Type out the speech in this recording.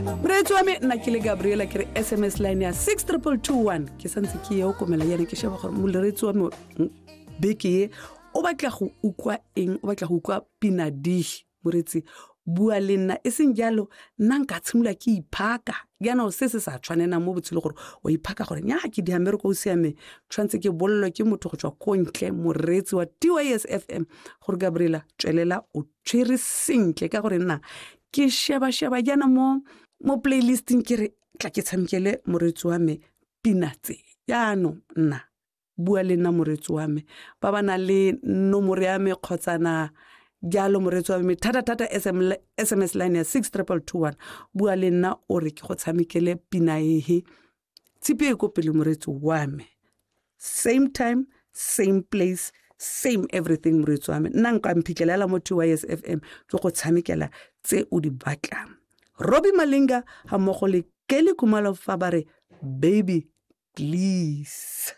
Moreetsi wa me, nna ke le Gabriela, ke re SMS line ya 62221, ke santse ke ye o komela yana, ke sheba gore moreetsi wa me beke ye o batla go utlwa eng, o batla go utlwa pinadihi. Moreetsi, bua le nna, e seng jalo nna nka tshimolola ke iphaka jaanong, se se sa tshwanenang mo botshelo, gore o iphaka gore nya ke dia mmereko o siameng, tshwanetse ke bolelwe ke motho go tswa ko ntle, moreetsi wa TYS FM, gore Gabriela, tswelela o tshwere sentle, ka gore nna ke sheba-sheba jaana mo playlisting, ke re tla ke tshamekele moreetsi wa me pina tse. Jaanong nna bua le nna, moreetsi wa me, ba ba nang le nomoro ya me kgotsana jalo, moreetsi wa me, thata-thata SMS line ya 62221, bua le nna o re ke go tshamekele pina ehe. Tshipi e ko pele, moreetsi wa me, same time, same place, same everything. Moreetsi wa me, nna nka mphitlhelela mo TYS FM, ke go tshamekela tse o di batlang. Robbie Malinga ga mmogo le Kelly Khumalo fa ba re "Baby Please".